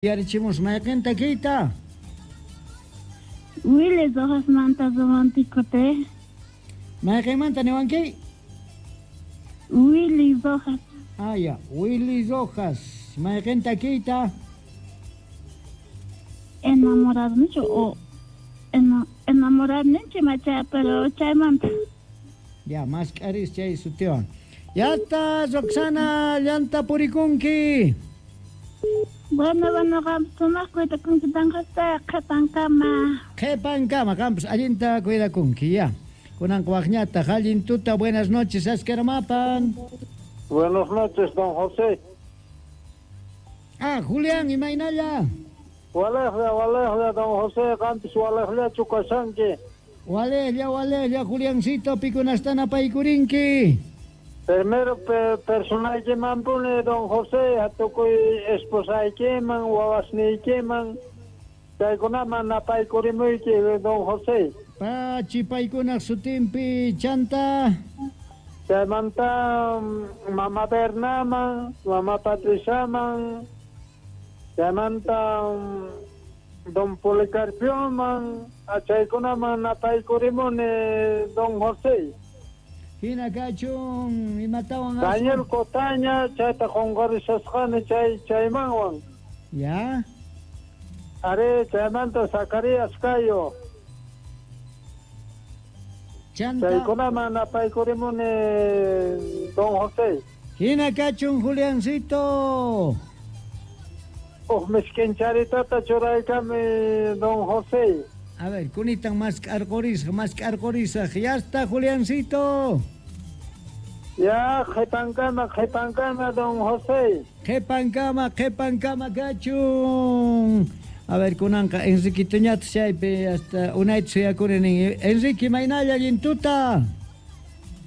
Yarichimus mayqin takiyta? Willy Rojasmanta romántico te. Mayqinmanta niwanki? Willy Rojas. Ah, ya. Willy Rojas. Mayqin takiyta? Enamorarnichu o enamorarninchi macha, pero chaymanta. Ya, mask'aris chay sutiwan. Yasta, Roxana, llanta purikunki. Bueno, bueno, qam sumaq cuidakunki tanqasta qhipankama. Qhipankama, qampas allinta cuidakunki, ya. Kunanqa waqñataq, allin tuta, buenas noches, askaramapan. Buenas noches, don José. Ah, Julián, imaynalla. Walejlla, walejlla, don José, qampis walejllachu kashanki. Walejlla, walejlla, Juliancito, pikunastana paykurinki. Primero personaykimanpuni, don José, tukuy esposaykiman, wawasniykiman, chaykunaman napaykurimuyki, don José. Pachi paykunaq sutinpi chanta. Chaymanta mama Bernaman, mama Patriciaman, chaymanta don Policarpioman, chaykunaman napaykurimuni, don José. Hina kachun imatawan Daniel Cotaña chayta qunqarisasqani chay chaymanwan. Ya. Are chaymanta Zacarías Cayo. Chanta. Chaykunaman napaykurimuni, don José. Hina kachun Juliancito. Uj misk'incharitata churaykami, don José. A ver, kunitan mask'arqurisaq, ya está, Juliancito. Ya, qhipankama, qhipankama, don José. Qhipankama, qhipankama kachun. A ver, kunanqa Enriquitoñataq chaypi hasta unayta suyakuni nin. Enrique, maynalla, allin tuta.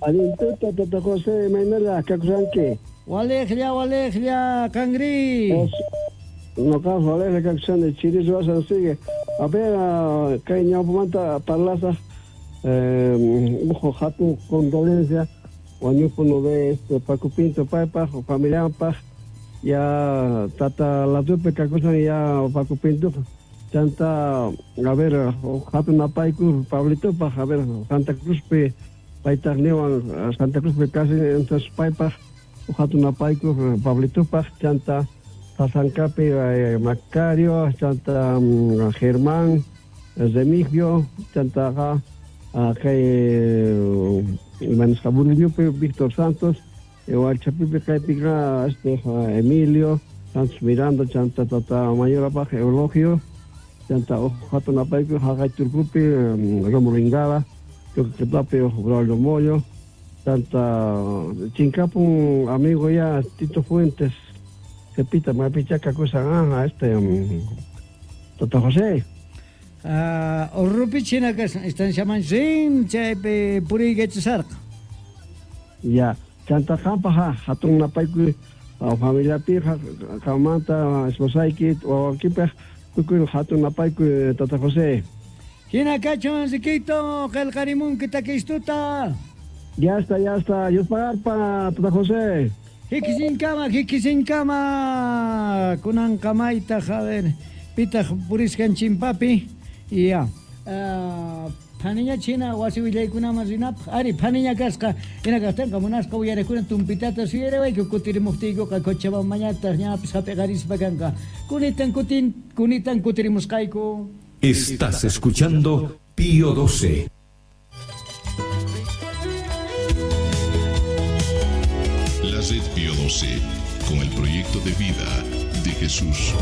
Allin tuta, tata José, maynalla, kakusanki. Walejlla, walejlla, qanri. Noqa walejlla kakusani, chiris wasan sigue. A ver, kay ñawpamanta parlasaq, uj hatun condolencia, wañupuno de este Paco Pinto paypaq, familianpaq, ya tata ladupi kakusan ya Paco Pinto, chanta, a ver, hatun napayku Pablitopaq, a ver, Santa Cruzpi, paytaq niwan, Santa Cruzpi casi, entonces paypaq, hatun napayku Pablitopaq, chanta, Sasancapi, Macario, chanta Germán, Remigio, chanta kay Maniscabuliñupi, Víctor Santos, Hualchapipi kaypiqa este Emilio, Santos Miranda, chanta tata Mayorapaq Eulogio, chanta hatun apayku haqay Turkupi, Romulo Ingala, Choquetapi, Braulio Moyo, chanta Chincapun amigo ya Tito Fuentes, Cepita, mapichaca cosa, este, Tata José. Ah, Urrupichina kasan, estanciaman sin, chaypi puriykachasarqa. Ya, chanta qanpaq hatun napaykuy familiapi qanmanta esposayki wawakipaq tukuy hatun napaykuy Tata José. Hina kachun Enriquito, qillqarimunki takistuta. Ya está, Dios pagarpa, Tata José. Hikisinkama, hikisinkama, kunanqa maytaq, a ver, pitaq purisqan chimpapi, ya. Phaniña china wasi willaykunaman rinapaq, ari phaniña kasqa, hina kaqtinqa munasqa uyarakuna tumpitata suyariwayku kutirimuqtiykuqa Cochabambañataq ñapis hap'iqarispa kanqa. Kunitan kunitan kutirimusqayku. Estás escuchando Pío 12. La Red Pío 12, con el proyecto de vida de Jesús.